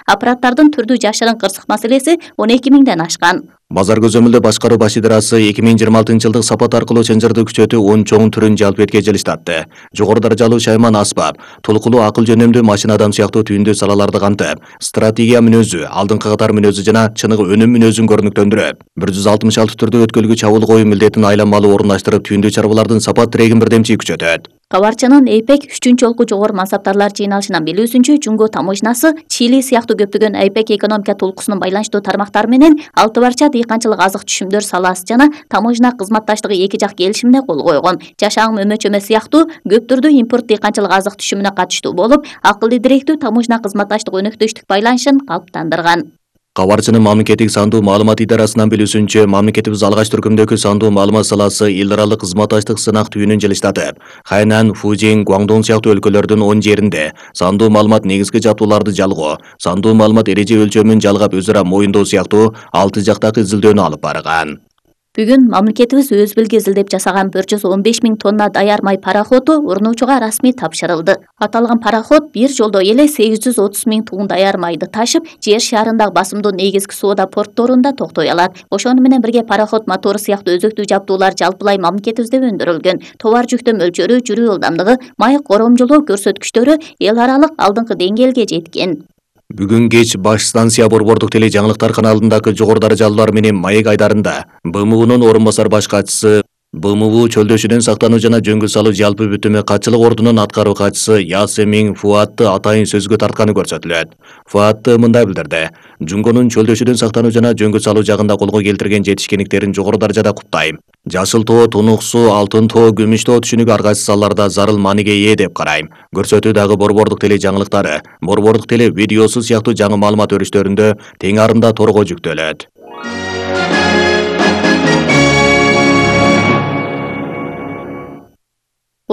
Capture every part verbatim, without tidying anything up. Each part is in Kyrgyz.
аппараттардын түрдүү жашырын кырсык маселеси он эки миңден ашкан. Базар көзөмөлдө башкаруу баш идарасы эки миң жыйырма алтынчы жылдык сапат аркылуу чынжырды күчөтүү он чоң түрүн жалпы эткече жылыштатты. Жогору даражалуу шайман аспап, толкулуу акыл жөнөмдүү машинадан сыяктуу түйүндүү салаларды камтып, стратегия мүнөзү, алдыңкы катар мүнөзү жана чыныгы өнүм мүнөзүн көрүнүктөндүрөт. бир жүз алтымыш алты түрдүү өткөлгү чабуул коюу милдетин айланмалуу орундаштырып, түйүндүү чарбалардын сапат тирегин бирдемчи күчөтөт. Кабарчынын эйпек үчүнчү жолку жогору мансаптарлар жыйналышынан билүүсүнчө, Жунго таможнасы Чили сыяктуу көптөгөн эйпек экономика толкусунун байланыштуу тармактары менен алты барча дыйканчылык азык түшүмдөр саласы жана таможна кызматташтыгы эки жак келишимине кол койгон. Жашаң өмө-чөмө сыяктуу көп түрдүү импорт дыйканчылык азык түшүмүнө катыштуу болуп, акылды директүү таможна кызматташтык өнөктөштүк байланышын калыптандырган. Кабарчынын мамлекеттик сандуу маалымат идарасынан билүүсүнчө, мамлекетибиз алгач түркүмдөгү сандуу маалымат саласы эл аралык кызматташтык сынак түйүнүн жылыштатып, Хайнан, Фужин, Гуандун сыяктуу өлкөлөрдүн он жеринде сандуу маалымат негизги жабдууларды жалгоо, сандуу маалымат эреже өлчөмүн жалгап өзара моюндоо сыяктуу алты жактагы изилдөөнү алып барган. Бүгүн мамлекетибиз өз белги изилдеп жасаган bir жүз он беш миң тонна даяр май пароходу урнуучуга расмий тапшырылды. Аталган пароход бир жолдо эле сегиз жүз отуз миң тонн даяр майды ташып, жер шарындагы басымдуу негизги соода портторунда токтой алат. Ошону менен бирге пароход мотору сыяктуу өзөктүү жабдуулар жалпылай мамлекетибизде өндүрүлгөн. Товар жүктөө мөлчөрү, жүрүү ылдамдыгы, май коромжолоо көрсөткүчтөрү эл аралык алдыңкы деңгээлге жеткен. Бүгүн кеч баш станция Борбордук теле жаңылыктар каналындагы жогору даражалуулар менен маек айдарында Б М У'нун орун басар баш катчысы, Б М У чөлдөшүдөн сактануу жана жөнгө салуу жалпы бүтүмү катчылык ордунун аткаруу катчысы Ясемин Фуатты атайын сөзгө тартканы көрсөтүлөт. Фуатты мындай билдирди: Жунгонун чөлдөшүдөн сактануу жана жөнгө салуу жагында колго келтирген жетишкендиктерин жогору даражада куттайм. Жашыл тоо, тунук суу, алтын тоо, күмүш тоо түшүнүгү ар кайсы салаларда зарыл мааниге ээ деп карайм. Көрсөтүү дагы Борбордук теле жаңылыктары, Борбордук теле видеосу сыяктуу жаңы маалымат өрүштөрүндө тең арында торго жүктөлөт.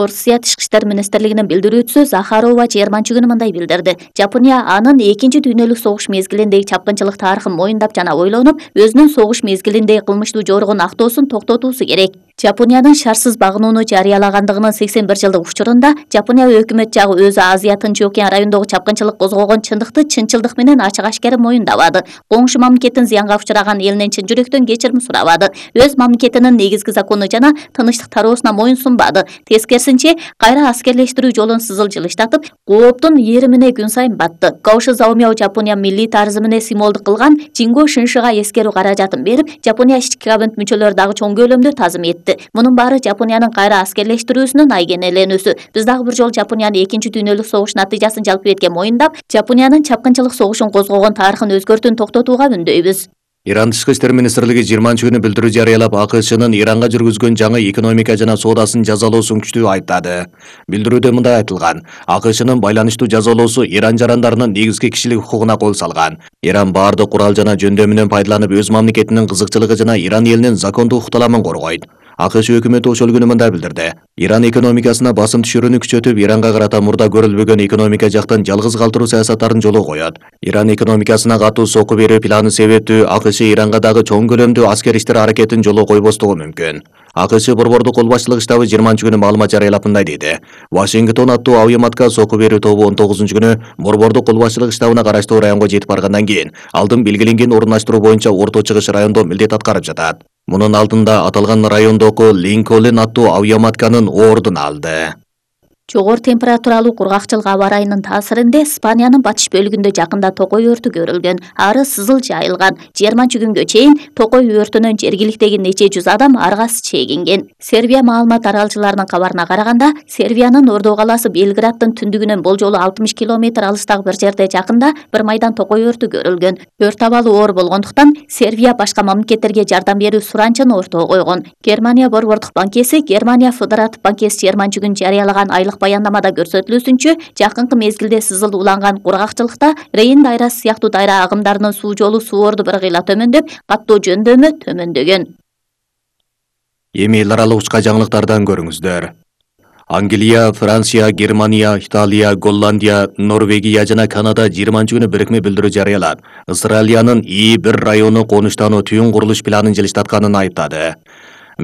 Орусия Тышкы иштер министрлигинин билдирүүчүсү Захарова жыйырманчы күнү мындай билдирди. Жапония анын экинчи дүйнөлүк согуш мезгилиндеги чапкынчылык тарыхын моюндап жана ойлонуп, өзүнүн согуш мезгилиндеги кылмыштуу жоругун актоосун токтотуусу керек. Жапониянын шартсыз багынууну жарыялагандыгынын сексен бир жылдык учурунда Жапония өкмөт жагы өзү Азия Тынч океан районундагы чапкынчылык козгогон чындыкты чынчылдык менен ачык-ачкары моюндабады. Коңшу мамлекеттин зыянга учураган элинен чын жүрөктөн кечирим сурабады. Өз мамлекетинин негизги закону жана тынычтык тароосуна моюн сунбады. Тескерисинче, кайра аскерлештирүү жолун сызыл жылыштатып, кооптун ийримине күн сайын батты. Каоши Заомяо Жапония милли тарызымыне символдук кылган Жинго Шиншига эскерүү каражатын берип, Жапония ички кабинет мүчөлөрү дагы чоң көлөмдө тазым этти. Мунун баары Жапониянын кайра аскерлештирүүсүнүн айгенеленүүсү. Биз дагы бир жолу Жапониянын экинчи дүйнөлүк согуш натыйжасын жалпы этке моюндап, Жапониянын чапкынчылык согушун козгогон тарыхын өзгөртүүнү токтотууга үндөйбүз. Иран Тышкы иштер министрлиги жыйырманчы күнү билдирүү жарыялап, А К Шнын Иранга жүргүзгөн жаңы экономика жана соодасын жазалоосун күчтүү айыптады. Билдирүүдө мындай айтылган: А К Шнын байланыштуу жазалоосу Иран жарандарынын негизги кишилик укугуна кол салган. Иран баардык курал жана жөндөмүнөн пайдаланып, өз мамлекетинин кызыкчылыгы жана Иран элинин закондуу укукталамын коргойт. А К Ш өкмөтү ошол күнү мындай билдирди: Иран экономикасына басым түшүрүүнү күчөтүп, Иранга карата мурда көрүлбөгөн экономика жактан жалгыз калтыруу саясаттарын жолго коет. Иран экономикасына катуу сокку берүү планы себептүү А К Ш Иранга дагы чоң көлөмдүү аскер иштер аракетин жолго койбостугу мүмкүн. А К Ш Борбордук кол башчылык штабы жыйырманчы күнү маалымат жарыялап мындай деди: Вашингтон аттуу авиаматка сокку берүү тобу он тогузунчу күнү Борбордук кол башчылык штабына караштуу районго жетип баргандан кийин алдын белгиленген орундаштыруу боюнча орто чыгыш райондо милдет аткарып жатат. Мунун алдында аталган райондогу Линколн аттуу авиаматканын ордун алды. Жогору температуралуу кургакчылык аба ырайынын таасиринде Испаниянын батыш бөлүгүндө жакында токой өртү көрүлгөн. Ары сызыл жайылган. жыйырманчы күнгө чейин токой өртүнөн жергиликтеги нече жүз адам аргасы чегинген. Сербия маалымат аралчыларынын кабарына караганда, Сербиянын Ордо калаасы Белграддын түндүгүнөн болжолу алтымыш километр алыстагы бир жерде жакында бир майдан токой өртү көрүлгөн. Өрт абалы оор болгондуктан Сербия башка мамлекеттерге жардам берүү суранчын ортого койгон. Германия Борбордук банкеси Германия Федератив банкеси жыйырманчы күнү жарыялаган айлык баяндамада көрсөтүлүүсүнчө, жакынкы мезгилде сызыл уланган кургакчылыкта Рейн дайрасы сыяктуу дайра агымдарынын суу жолу суу орду бир кыйла төмөндөп, каттоо жөндөмү төмөндөгөн. Эми эл аралык учка жаңылыктардан көрүңүздөр. Англия, Франция, Германия, Италия, Голландия, Норвегия жана Канада жыйырманчы күнү бирикме билдирүү жарыялап, Австралиянын И бир району конуштануу түйүн курулуш планын жылыштатканын айыптады.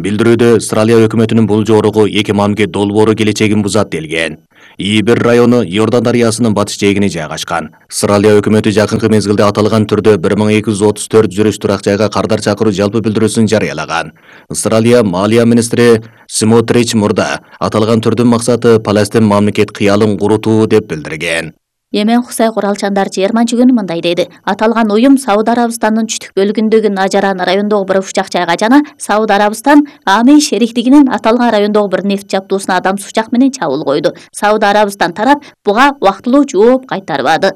Билдирүүдө Австралия өкмөтүнүн бул жоругу эки мамлекет долбоору келечегин бузат делген. Ибир району Йордан дарыясынын батыш жээгине жайгашкан. Австралия өкмөтү жакынкы мезгилде аталган түрдө бир миң эки жүз отуз төрт жүрүш турак жайга кардар чакыруу жалпы билдирүүсүн жарыялаган. Австралия малия министри Смотрич мурда аталган түрдүн максаты Палестин мамлекет кыялын курутуу деп билдирген. Йемен Хусай куралчандар жыйырманчы күнү мындай деди. Аталган уюм Сауд Арабистандын чүтүк бөлүгүндөгү Нажаран районундагы бир учак жайга жана Сауд Арабистан Амей шериктигинин аталган райондогу бир нефт жабдуусуна адам учак менен чабуул койду. Сауд Арабистан тарап буга убактылуу жооп кайтарбады.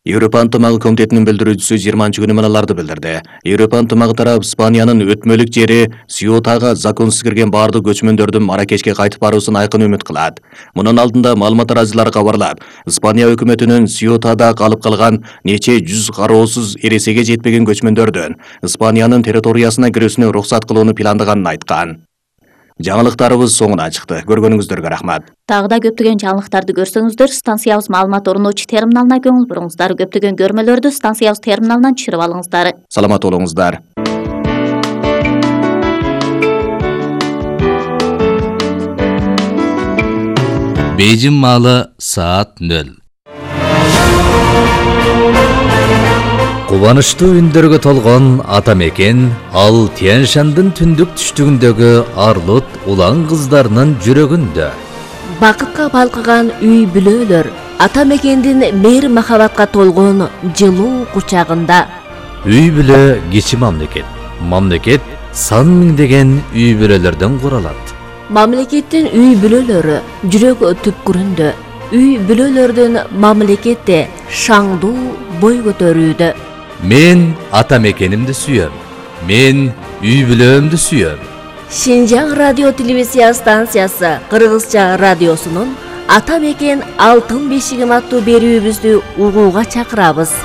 Европа ынтымагы комитетинин билдирүүчүсү жыйырманчы күнү мыналарды билдирди. Европа ынтымагы тарап Испаниянын өтмөлүк жери Сьютага законсуз кирген баардык көчмөндөрдүн Маракешке кайтып баруусун айкын үмүт кылат. Мунун алдында маалымат тараачылары кабарлап, Испания өкмөтүнүн Сьютада калып калган нече жүз кароосуз эресеге жетпеген көчмөндөрдүн Испаниянын территориясына кирүүсүнө уруксат кылууну пландаганын айткан. Жаңылыктарыбыз соңуна чыкты. Көргөнүңүздөргө рахмат. Тагыда көптөгөн жаңылыктарды көрсөңүздөр, станциябыз маалымат орунуучу терминалына көңүл буруңуздар. Көптөгөн көрмөлөрдү станциябыз терминалынан түшүрүп алыңыздар. Саламат болуңуздар. Бейжин маалы саат нөл. Кубанычтуу үндөргө толгон ата мекен ал Тянь-Шандын түндүк түштүгүндөгү арлут улан кыздарынын жүрөгүндө. Бакытка балкыган үй бүлөлөр ата мекендин мейир махабатка толгон жылуу кучагында. Үй бүлө кичи мамлекет. Мамлекет сан миңдеген үй бүлөлөрдөн куралат. Мамлекеттин үй бүлөлөрү жүрөк түпкүрүндө. Үй бүлөлөрдүн мамлекетте шаңдуу бой көтөрүүдө. Мен ата мекенимди сүйөм. Мен үй бүлөмдү сүйөм. Шинжаң радио телевизия станциясы Кыргызча радиосунун Ата мекен алтын бешигим аттуу берүүбүздү угууга чакырабыз.